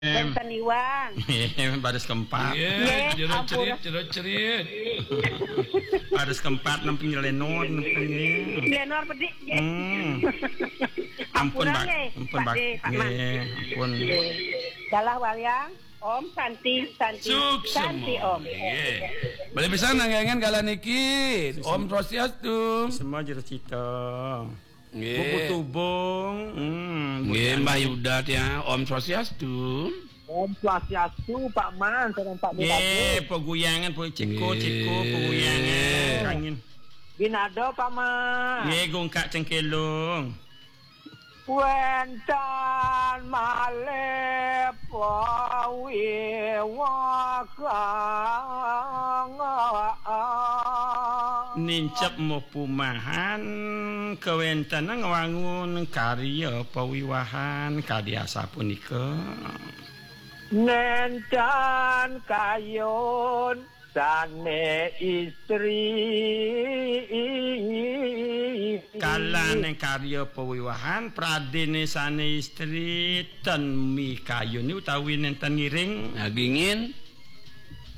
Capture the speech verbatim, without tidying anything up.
Wénten Iwang. Baris keempat. Nggih, nggih, jero ampun. Cerit, jero cerit. Baris keempat, nem penyelenor, nem penye-. Lenor bedik, nggih. Hmm. Ampun, Ampura, Pak. Nggih, Ampun, Pak. Pak De, Pak Man. Nggih, ampun. Nggih. Dalah wayang, Om Santi, Santi, Suksma. Santi, Om. Nggih. Beli pisan nanggengen kala niki. Suksma. Om Swastiastu. Semua jero cita. Nggih. Buku Tubung. Hmm, Nggih, Mbah Yuda, ya. Om Swastiastu. Om Swastiastu, Pak Man, sareng Pak Nggih, Bupati. Peguyangan, Pak Ceko, Nggih. Ceko, peguyangan. Angin. Ginado, Pak Man. Nggih, gungkak cengkelung. Wénten malih pawiwahan. Nincep mupumahan kawéntenan ngwangun karya pawiwahan kadi asapunika. Nénten kayun sané istri. Kalaning karya pawiwahan, pradéné sané istri ten mikayun utawi nénten ngiring. Nagingin.